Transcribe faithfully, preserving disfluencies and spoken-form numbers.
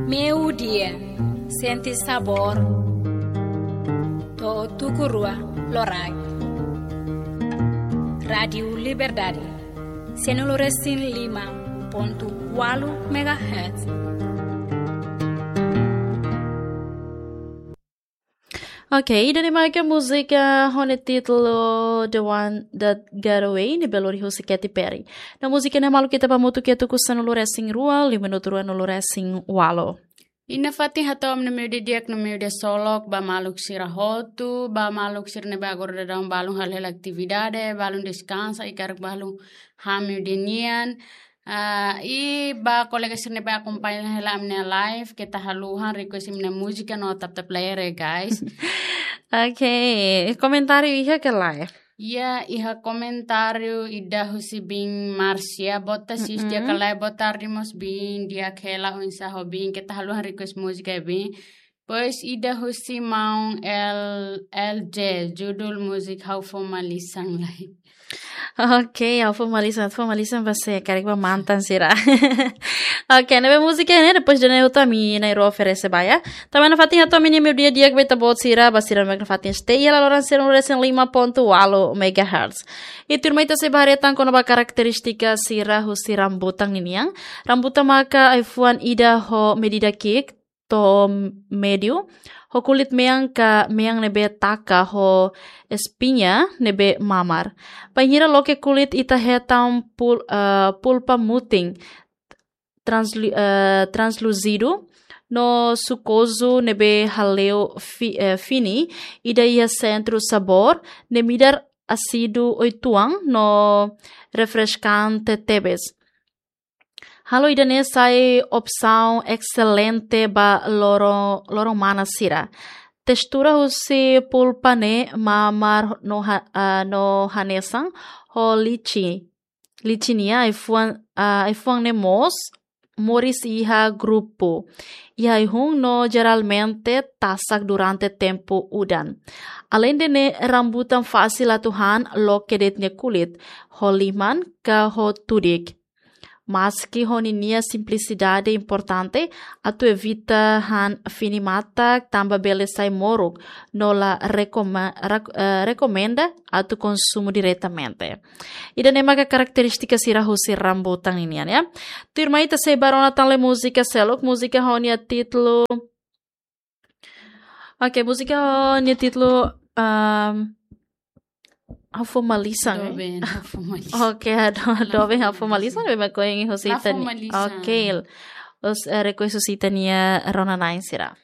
Meiudia, sente sabór. To'o tuku rua loraik. Rádiu Liberdade, sanulu-resin-lima pontu ualu megahertz. Ok, ida-ne'e mak múzika ho nia títulu The One That Got Away, ne'ebé lori husi Katy Perry. No múzika ne'e maluk ita ba hamutuk iha tuku sanulu-resin-rua, liu minutu ruanulu-resin-ualu. I nafatin hato'o ami-nia meiudia di'ak no meiudia solok ba maluk sira hotu, ba maluk sira ne'ebé agora daudaun balun halo hela atividade, balun deskansa, i karik balun han meiudia nian. Ah, i ba kolega sira ne'ebé akompaña hela ami-nia live, keta haluha request imi-nia múzika no tap-tap layar ya, guys. Ok, komentáriu iha ka lae? Ya, iha komentáriu ida husi biin Marcia, boa tarde, sis, di'ak ka lae, boa tarde mós biin, di'ak hela, oinsá ho biin, keta haluha request múzika ya biin. Depois ida husi maun L L J, judul múzika Ha'u Fó Malisan Lai. Ok, Ha'u Fó Malisan, Ha'u Fó Malisan ba sé, karik ba mantan sira. Ok, ne'ebé múzika ne'e, depois de ne'e hotu ami na'in-rua oferese ba, ya. Tanba ne'e nafatin hato'o ami-nia meiudia di'ak ba ita-boot sira, ba sira mak nafatin stay iha laloran sanulu-resin-lima pontu ualu megahertz. I tuirmai ita sei bá haree tan kona-ba karakterístika sira husi rambutan ninian. Rambutan maka ai-fuan ida ho medida ki'ik to'o médiu, ho kulit mean ka mean ne'ebé taka ho espiña ne'ebé mamar. Bainhira loke kulit ita hetan pul-, eh, pulpa mutin translu-, eh, translúzidu no sukozu ne'ebé hale'u fi-, eh, fini ida iha sentru sabór ne'e midar ásidu uitoan no refreskante tebes. Halo ida-ne'e sai opsaun excelente ba loro-, loron-manas sira. Testura husi pulpa ne'e mamar no ha-, ah, no hanesan ho lichi, lichi nian, ai-fuan, ah, ai-fuan ne'e mós moris iha grupu, iha ai-hun no jeralmente tasak durante tempu udan. Aleinde ne'e, rambutan fasil atu han loke de'it nia kulit, ho liman ka ho tudik. Maski ho ninia simplisidade importante, atu evita han fini matak tanba bele sai moruk, no la rekome-, rek-, eh, rekomenda atu konsumu diretamente. Ida-ne'e maka karakterístika sira husi rambutan ninian, ya. Tuirmai ita sei bá rona tan lee múzika seluk, múzika ho nia títulu. Ok, múzika ho nia títulu, ehm, Ha'u Fó Malisan, eh? Doben, Ha'u Fó Malisan. Ok, do-, Doben, Ha'u Fó Malisan, ne'ebé mak ohin husi ita-nia. Ha'u Fó Malisan. Ok, os, eh, request husi ita-nia rona-na'in sira.